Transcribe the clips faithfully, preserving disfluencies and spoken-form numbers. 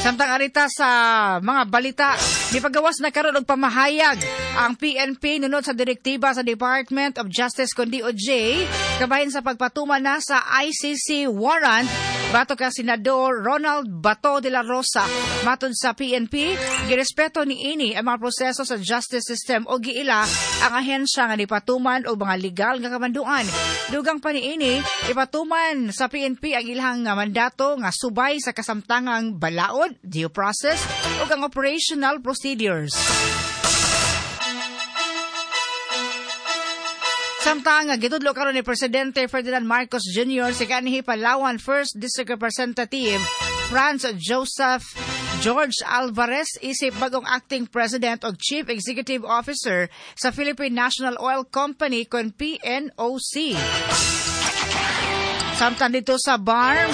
Samtang arita sa mga balita, nipagawas na karon og pamahayag ang P N P nunod sa direktiba sa Department of Justice kon D O J kabahin sa pagpatuman na sa I C C warrant batok kang Senador Ronald Bato de la Rosa. Matod sa P N P, girespeto ni ini ang mga proseso sa justice system o giila ang ahensya nga nipatuman og mga legal nga kamanduan. Dugang pa niini, ipatuman sa P N P ang ilang mandato nga subay sa kasamtangang balaod, due process ug ang operational procedures. Samtang gitudlo karon ni Presidente Ferdinand Marcos Junior si kanhi Palawan First District Representative Franz Joseph George Alvarez isip bagong acting president o chief executive officer sa Philippine National Oil Company kon P N O C. Samtang dito sa BARMM,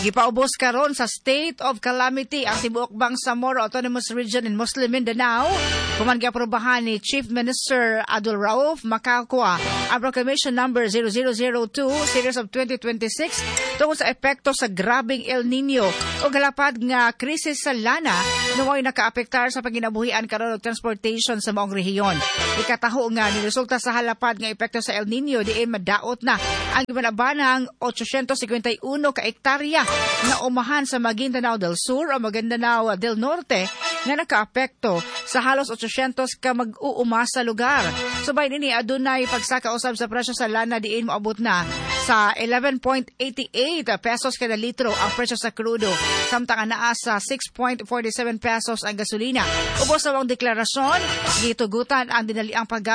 gipaubos karon sa state of calamity ang tibuok Bangsamoro Autonomous Region in Muslim Mindanao. Human giaprobahan ni Chief Minister Abdul Rauf Macacua ang Proclamation Number zero zero zero two Series of twenty twenty-six tungod sa epekto sa grabeng El Nino o galapad nga krisis sa lana nga mao'y nakaapektar sa panginabuhian karon og transportation sa maong rehiyon. Ikataho nga niresulta sa halapad nga epekto sa El Nino diin madaot na ang gibanabanang eight hundred fifty-one ka ektarya nga umahan sa Maguindanao del Sur o Maguindanao del Norte nga nakaapekto sa halos eight hundred ka mag-uuma sa lugar. Subay nini, adunay pagsaka usab sa presyo sa lana diin moabot na sa eleven point eight eight pesos kada litro ang presyo sa krudo, samtang anaa sa six point four seven pesos ang gasolina. Ubos sa maong deklarasyon, gitugutan ang dinaliang paggamit